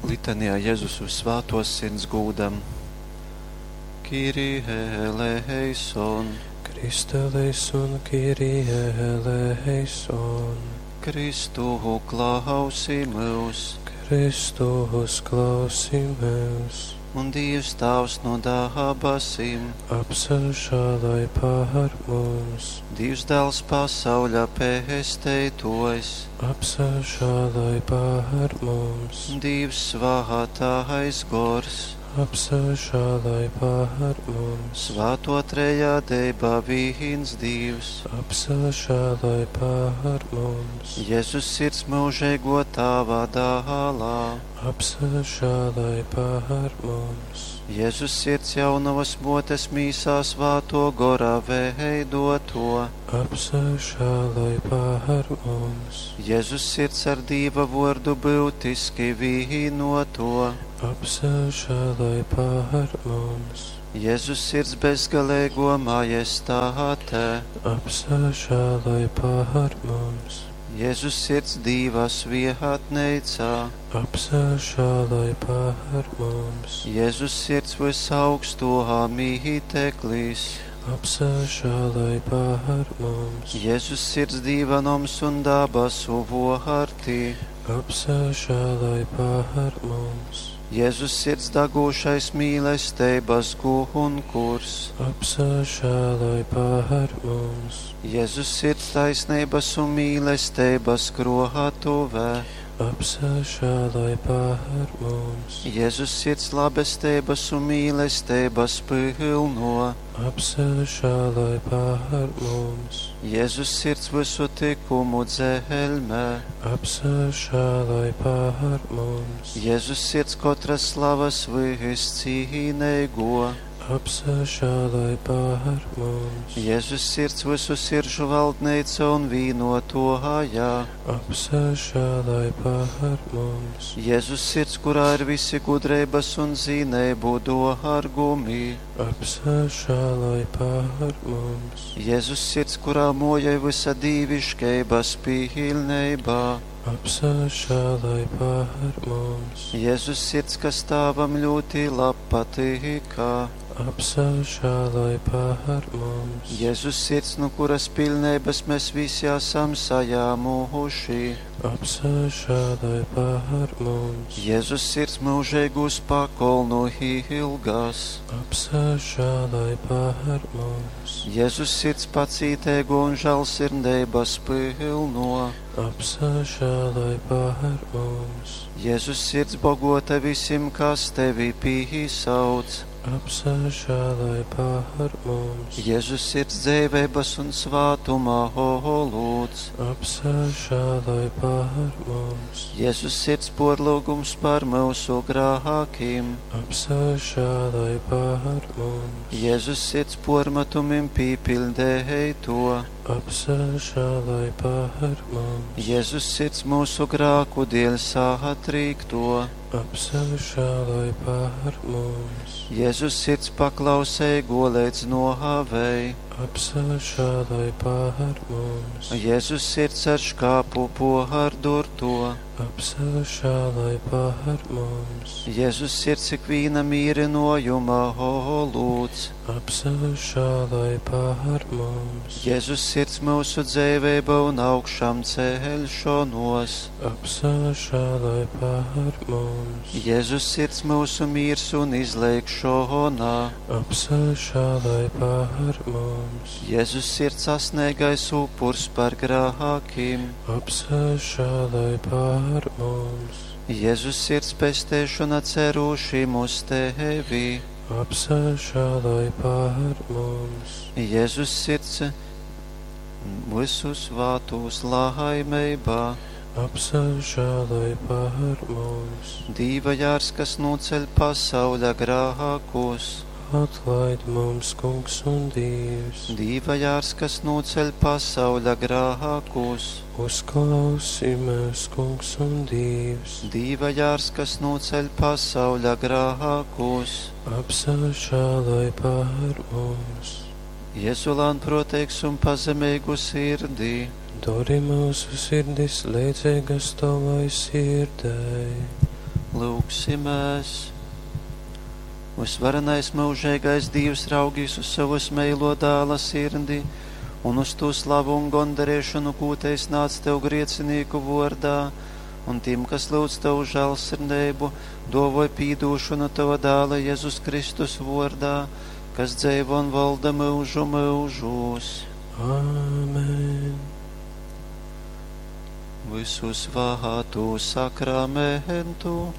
Litanijā Jezus Vyssvātōs Sirds gūdam. Kyrie eleison. Christe eleison, Kyrie eleison. Kristu klausi myus. Kristu uzklausi myus. Un Dīvs Tāvs no dabasim. Apsažāloj pār mums. Dīvs Dāls pasauļa pesteitōjs. Apsažāloj pār mums. Dīvs Svātais Gors. Apsažāloj pār mums. Svāto trejādeiba vīns Dīvs. Apsažāloj pār mums. Jēzus sirds mūžīgo Tāva dālā. Apsažāloj pār mums. Jēzus sirds jaunavas motes mīsā svāto gora veidoto. Apsažāloj pār mums. Jēzus sirds ar Dīva vordu būtiski vīnoto. Apsažāloj pār mums. Jēzus sirds bezgalīgo majestāte. Apsažāloj pār mums. Jēzus sirds Dīva svietneicā. Apsažāloj pār mums. Jēzus sirds visaugsto mīteklīs. Apsažāloj pār mums. Jēzus sirds Dīva noms un dabasu vārti. Apsažāloj pār mums. Jēzus sirds dagūšais mīlestības gunkurs. Apsažāloj pār mums. Jēzus sirds taisnības un mīlestības krohatuvē. Apsažāloj pār mums. Jēzus sirds labestības un mīlestības pilno. Apsažāloj pār mums. Jēzus sirds visu tikumu dzelmē. Apsažāloj pār mums. Jēzus sirds katras slavas viscīnīgo. Apsažāloj pār mums. Jēzus sirds visu siržu valdneica un vīnotohajā. Apsažāloj pār mums. Jēzus sirds, kurā ir visi gudrības un zinību dārgumi. Apsažāloj pār mums. Jēzus sirds, kurā mojai visa dīviškeibas pilnībā. Apsažāloj pār mums. Jēzus sirds, kas Tēvam ļoti labpatīkā. Apsažāloj pār mums. Jēzus sirds, no kuras pilnības mēs visi esam sajāmuši. Apsažāloj pār mums. Jēzus sirds mūžīgus pakolnu ilgas. Apsažāloj pār mums. Jēzus sirds pacītēgo un žēlsirdības pilno. Apsažāloj pār mums. Jēzus sirds bogota visiem, kas tevi pīsauc. Apsažāloj pār mums. Jēzus sirds dzīvības un svātuma holūds. Apsažāloj pār mums. Jēzus sirds porlūgums par mūsu grākiem. Apsažāloj pār mums. Jēzus sirds pormetumim pīpildēja to. Apsažāloj pār mums. Jēzus sirds mūsu grāku dēļ sātrīkto. Apsažāloj pār mums. Jēzus sirds paklausēja līdz nohavei. Apsažāloj pār mums. Jēzus sirds ar škāpu pohardurto. Apsažāloj pār mums. Jēzus sirds ikvīna mīrinojuma holūds. Apsažāloj pār mums. Jēzus sirds mūsu dzīvība un augšām ceļšanos. Apsažāloj pār mums. Jēzus sirds mūsu miers un izlēkšona. Apsažāloj pār mums. Jēzus sirds sasniegais upurs par grākiem. Apsažāloj pār mums. Jēzus sirds pestēšana cerūšim uz tevi. Apsažāloj pār mums. Jēzus sirds visu svātus laimībā. Apsažāloj pār mums. Dīva jārs, kas noceļ pasauļa grākus. Atlaid mums, Kungs un Dievs. Dīva jārs, kas noceļ pasauļa grākus. Uzklausi mūs, Kungs un Dievs. Dīva jārs, kas noceļ pasauļa grākus. Apsažāloj pār mums. Jēzu lānproteigs un pazemīgu sirdī. Dori mūsu sirdis līdzīgas tavai sirdei. Lūgsimies! Vysvarenais myužeigais Dīvs, raugīs uz sovas meilo dāla sirdi un uz tū slavu un gondarēšanu, kū tei snādz tev griecinīku vordā, un tim, kas lūdz tavu žēlsirdību, dovoj pīdūšanu tava dāla Jēzus Kristus vordā, kas dzeivo un valda myužu myužūs. Āmen. Visu svātu sakramentu.